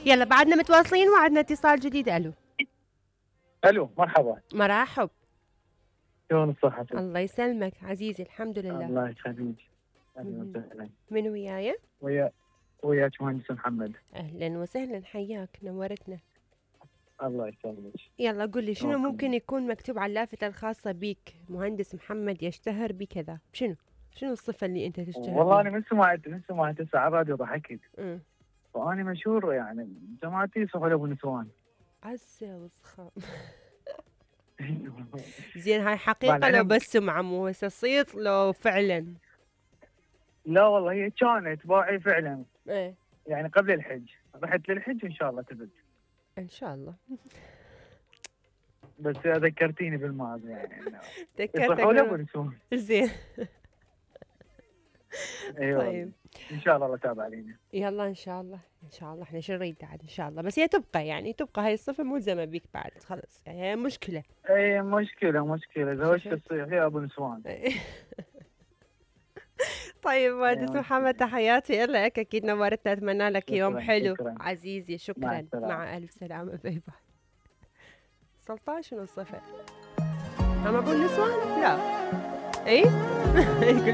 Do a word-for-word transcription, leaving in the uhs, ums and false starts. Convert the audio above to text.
يلا بعدنا متواصلين وعدنا اتصال جديد. الو الو مرحبا. مرحب. شلون الصحة؟ الله يسلمك عزيزي، الحمد لله. الله يخليك. اهلا وسهلا. من وياي؟ ويا وياك مهندس محمد. اهلا وسهلا، حياك، نورتنا. الله يسلمك. يلا قل لي شنو ممكن يكون مكتوب على اللافتة الخاصة بيك؟ مهندس محمد يشتهر بكذا، شنو؟ شنو الصفة اللي انت تشتهر والله بيها؟ انا من سمعت من سمعت هسه على الراديو ضحكت. امم وانا مشهور يعني جماعتي سهل ابو نسوان. عسى وسخام. زين هاي حقيقة لو بس سمعة مو هسه صيت لو فعلا؟ لا والله هي كانت باعي فعلا. ايه يعني قبل الحج رحت للحج وان شاء الله تبت. ان شاء الله. بس ذكرتيني بالماضي يعني. ذكرتك ابو نسوان. زين. ايوه طيب ان شاء الله الله تابع علينا. يلا ان شاء الله ان شاء الله، احنا شو نريد بعد ان شاء الله، بس هي تبقى يعني تبقى هاي الصفة ملزمة بيك بعد خلص، يعني هي مشكلة. اي مشكلة مشكلة زوجت تصيح يا ابو نسوان. طيب مهندس محمد تحياتي لك، اكيد نورتنا، اتمنى لك شكراً يوم حلو شكراً. عزيزي. شكرا. مع, مع الف سلامة. باي باي. سلطان شنو الصفة؟ هم ابو النسوان؟ لا. اي.